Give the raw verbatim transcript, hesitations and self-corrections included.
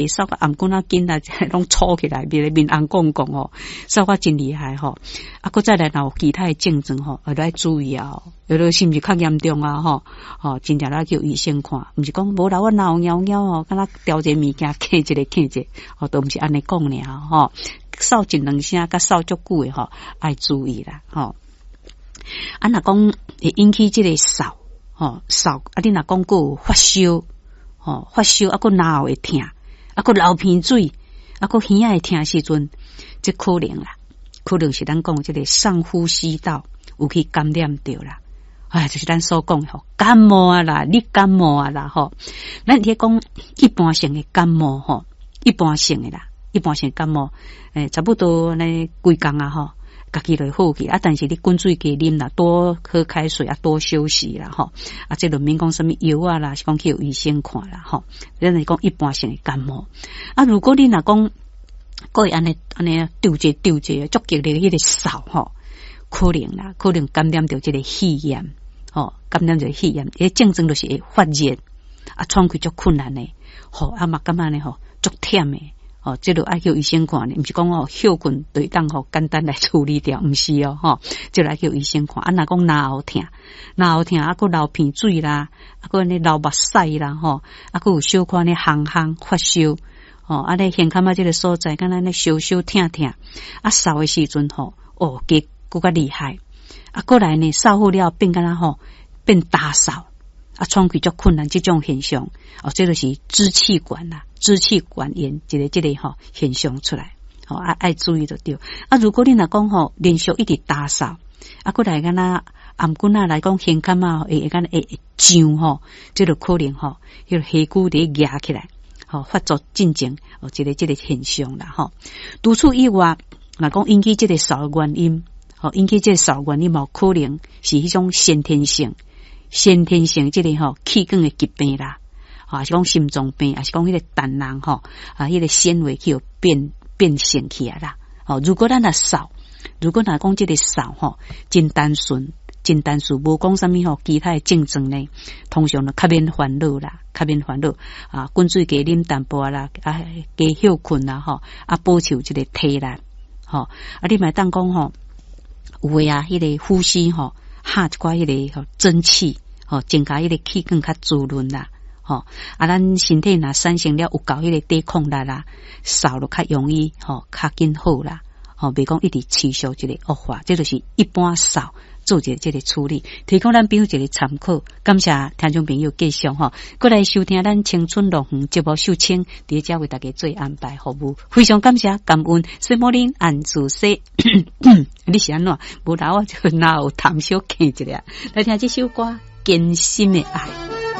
嗽甲頷頸仔緊啊，攏粗起來，面面紅摃摃吼，嗽甲真厲害吼。啊，閣再來若有其他的症狀吼，愛來注意啊，有的是毋是較嚴重啊？吼，吼，真正來叫醫生看，毋是講無啦，我喉撓撓吼，敢若調一個物件，咳一下咳一下，吼，都毋是按呢講爾吼。嗽一兩聲，佮嗽足久的吼，愛注意啦，吼。啊，若講會引起這個嗽，吼嗽，啊，你若講閣有發燒，吼發燒，啊，閣嚨喉會疼，啊，閣流鼻水，啊，閣耳仔會疼時陣，這可能啦，可能是咱講這個上呼吸道有去感染著啦。哎，就是咱所講吼，感冒啊啦，你感冒啊啦，吼。咱佇講一般性的感冒吼，一般性的啦，一般性感冒，欸，差不多呢幾工啊吼，家己就會好去啊。但是你滾水加啉啦，多喝開水啊，多休息啦，吼。啊，這就免講啥物藥啊啦，是講去予醫生看啦，吼。咱是講一般性的感冒。啊，如果你若講，閣會按呢按呢丟這丟這，足激烈彼個嗽吼，可能啦，可能感染著這個肺炎，吼，感染著肺炎，彼症狀就是會發熱，啊，喘氣足困難的，吼，啊嘛感覺呢吼足忝的。哦，這個愛叫醫生看呢，毋是講哦歇睏就會當吼簡單來處理掉，毋是哦，吼，這個愛叫醫生看。啊，若講嚨喉疼，嚨喉疼，啊，閣流鼻水啦，啊，閣按呢流目屎啦，吼，啊，閣有小可呢紅紅發燒，吼，啊，咧胸坎仔這個所在，敢若按呢燒燒疼疼，啊，嗽的時陣吼，哦，加閣較厲害，啊，過來呢，嗽好了變敢若吼變焦嗽。啊，喘氣足困難，這種現象，哦，這就是支氣管啦，支氣管炎一個這個吼現象出來，吼啊愛注意就對。啊，如果你若講吼連續一直焦嗽，啊，過來敢若頷頸仔來講胸坎仔會會敢若會會脹吼，這就可能吼，彼個血球佇壓起來，吼發作進前哦，這個這個現象啦吼。除此以外，若講引起這個嗽的原因，吼引起這個嗽原因，嘛可能是彼種先天性。先天性這個吼氣管的疾病啦，啊是講心臟病，抑是講彼個膽囊吼啊，彼個纖維去予變變性起來啦。吼，如果咱若嗽，如果若講這個嗽吼真單純，真單純，無講啥物吼其他的症狀呢，通常就較免煩惱啦，較免煩惱啊，滾水加啉淡薄啦，啊加歇睏啦吼，啊保持這個體力，吼啊你嘛會當講吼，有的啊，彼個呼吸吼。哈一寡彼個吼蒸氣，吼增加彼個氣管較滋潤啦，吼啊，咱身體若產生了有夠彼個抵抗力啦，嗽就較容易吼較緊好啦，吼袂講一直持續這個惡化，這就是一般嗽做一個這個處理，提供咱朋友一個參考。感謝聽眾朋友繼續吼，過來收聽咱青春樂園節目秀清，佇遮為大家做安排服務，非常感謝感恩。水某恁按住說，你是按怎？無啦，我就嚨有痰小咳一下，來聽這首歌《堅心的愛》。